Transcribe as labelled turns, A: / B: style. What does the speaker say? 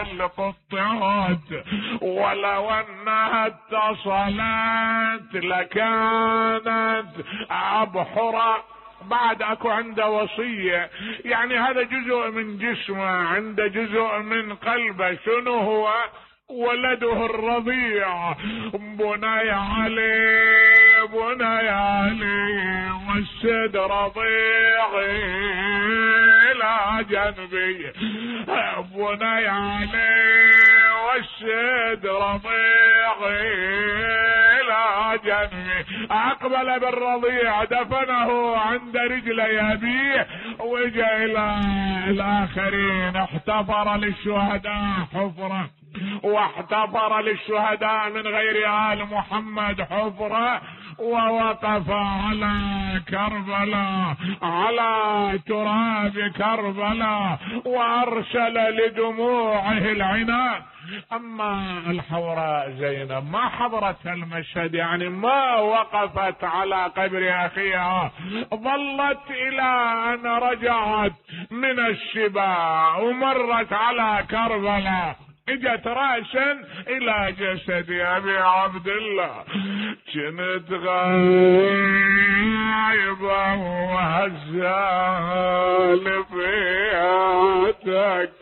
A: القطات، ولو انها اتصلت لكانت ابحرا. بعد اكو عنده وصية، يعني هذا جزء من جسمه، عنده جزء من قلبه. شنو هو؟ ولده الرضيع. بني علي بني علي والسد رضيعي الى جنبي، بني علي والسد رضيعي الى جنبي. اقبل بالرضيع دفنه عند رجلي ابيه، واجا الى الاخرين. احتفر للشهداء حفرة، واحتفر للشهداء من غير آل محمد حفرة، ووقف على كربلاء، على تراب كربلاء، وارسل لدموعه العنان. اما الحوراء زينب ما حضرت المشهد، يعني ما وقفت على قبر اخيها، ظلت الى ان رجعت من الشباع ومرت على كربلاء، اجت رأسا الى جسد ابي عبد الله. كنت غايبة وهزال فياتك،